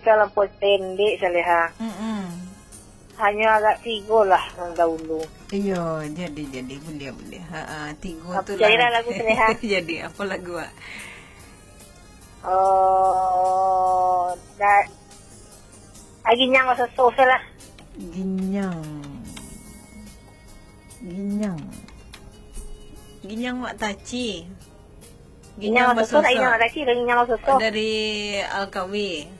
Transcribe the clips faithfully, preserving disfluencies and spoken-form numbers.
Talampau pendek, Saleha. Mm-mm. Hanyo agak tigo lah nan dahulu. Iyo, jadi, jadi. Buliah, buliah. Ha, ha, tigo tu lah. Carilah lagu, Saleha. Jadi, apa lagu, Wak? Oh, da-, ah, Ginyang Basoso lah. Ginyang. Ginyang. Ginyang Mak Taci. Ginyang Basoso, Ginyang Basoso. Mak Taci, Ginyang Basoso. Dari Alkawi.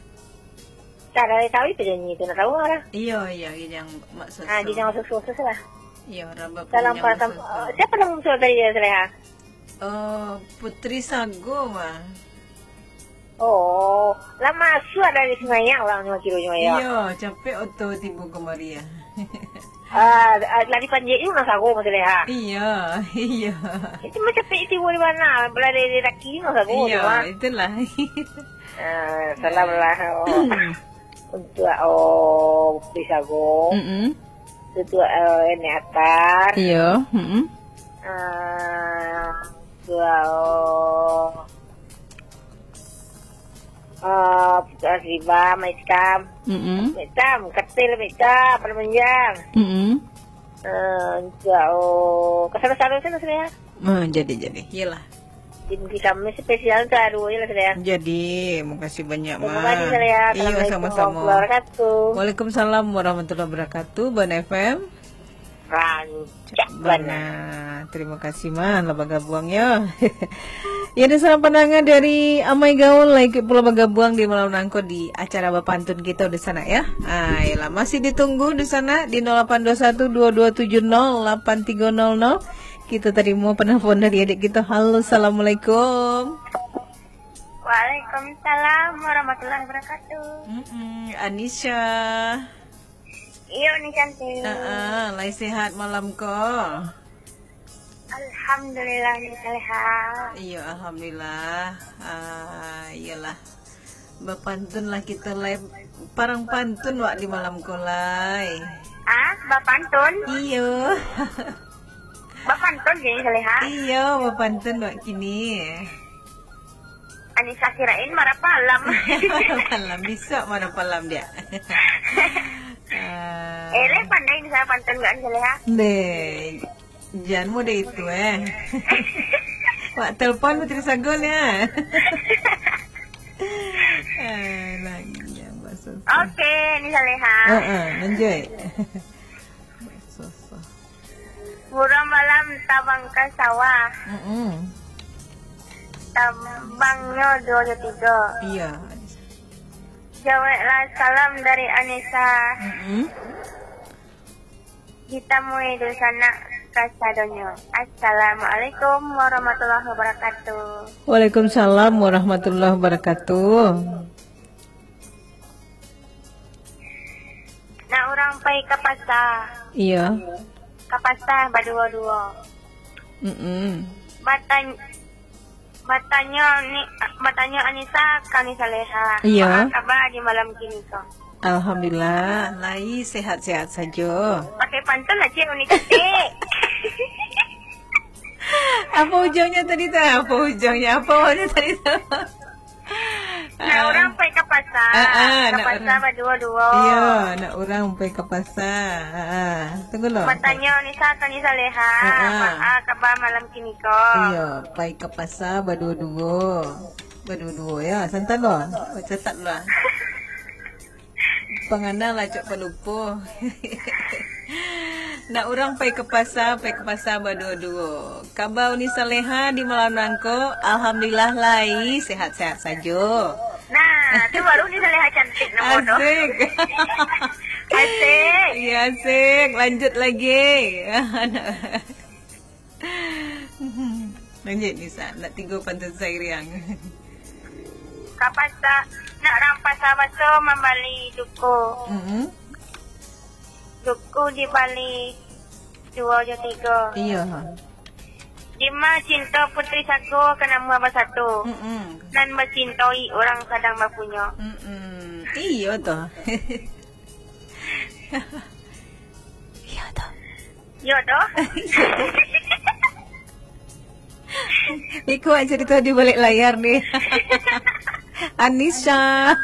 Tak, dari Alkawi penyanyi tu, nak tahu lah. Iyo, iyo, Ginyang Mak Soso. Ah, Ginyang Basoso, Soso lah. Iyo, Rabab Salam Ginyang Basoso. Eh, siapa nama musuh tadi ya, Saleha? Oh, Putri Sago mah. Oh, lah masuak dari Semayang lah, nyo kiro Semayang. Iyo, capek oto tibo kamari ya. Ah, ah, lari panjek juga sago, Mas Leha. Iyo, iyo. Itu macam itu di mana? Berada di kaki juga sago. Iyo, tu, ah. Itulah. Ah, salam lah, oh. Untuk, oh, Putri Sago. Mm-mm. Untuk, eh, Nenek Atar. Iyo, mm-mm. Ah, untuk, oh, Ah, Putu Asriba, Mak Itam. Mm-mm. Mak Itam, Katil, Mak Itam, Pada Manjang. Mm-mm. Ah, Insya Allah. Kasado-sado sajo lah, Saleha. Ah, jadi, jadi. Iyalah. Jadi, kami spesial tu aduh je lah, Saleha. Jadi, makasih banyak, Ma. Terima kasih, Saleha. Iyo, assalamualaikum sama-sama. Warahmatullahi wabarakatuh. Waalaikumsalam warahmatullahi wabarakatuh, Bana F M. Rancak bana. Bana. Terima kasih, Ma, lah bagabuang, yo. Ya, dunsanak pandanga dari Amai Gaul, lah ikuik pulo bagabuang di malam nangko di acara bapantun kito dunsanak, ya. Ah, iyolah, masih ditunggu dunsanak di nol lapan dua satu dua dua tujuh nol lapan tiga nol nol. Kito tarimo penelpon dari adik kito. Halo, assalamualaikum. Waalaikumsalam warahmatullahi wabarakatuh. Mm-mm, Anisha. Iyo, Ni Cantik. Heeh, lai sehat malam ko? Alhamdulillah, Ni Saleha. Iyo, alhamdulillah. Ah, iyolah. Bapantun lah kito lai. Parang pantun wak di malam ko lai. Ah, bapantun? Iyo. Bapantun je, Ni Saleha? Iyo, bapantun wak kini. Anisa kirain marah malam. Marah malam, bisa marah malam dia. Ah. Eh, lai pandai Anisa pantun gak Anisa Leha? Deh, jan mode itu, eh. Wak telepon Putri Sagun, ya. Eh, lagi yang bahasa. Oke, Anisa Leha. Heeh, lanjut. Bahasa. Buruang malam tabang ka sawah. Mm-mm. Tabangnyo duo jo tigo. Iyo. Jaweklah salam dari Anisa. Mm-mm. Ditamui dunsanak kasadonyo. Assalamualaikum warahmatullahi wabarakatuh. Waalaikumsalam warahmatullahi wabarakatuh. Nak urang pai ka pasa. Iyo. Ka pasa baduo-duo. Mm-mm. Batan-, batanyo ni, batanyo Anisa ka Anisa Leha. Iyo. Baa kaba di malam kini ko? Alhamdulillah, lai sehat-sehat sajo. Pakai pantun aja unik cantik. Apa ujungnya tadi tu? Apa ujungnya? Apa awalnya tadi tu? Nak urang pai ka pasa. Ah, ah, ka pasa baduo-duo. Iyo, nak urang pai ka pasa. Ah, ah. Tunggu lo. Batanyo Anisa ka Anisa Leha. Ah, ah. Baa kaba malam kini ko? Iyo, pai ka pasa baduo-duo. Baduo-duo, ya. Santai lo. Catat lo. Pangana lah, cok palupo. Nak urang pai ka pasa, pai ka pasa baduo-duo. Kaba Uni Saleha di malam nangko, alhamdulillah lai, sehat-sehat sajo. Nah, tu baru Uni Saleha cantik namo tu. Asik. Asik. Iya, asik. Lanjut lagi. Lanjut, Nisa. Nak tigo pantun sairiang. Ka pasa, nak urang pasa baso mambali duku. Mm-mm. Duku dibali duo jo tigo. Iya. Dima cinto Putri Sago ka namuah basatu. Mm-mm. Nan bacintoi urang sadang bapunyo. Mm-mm. Iya tu. Iya tu. Yo doh. Iko aja cerita di balik layar ni. Anisha.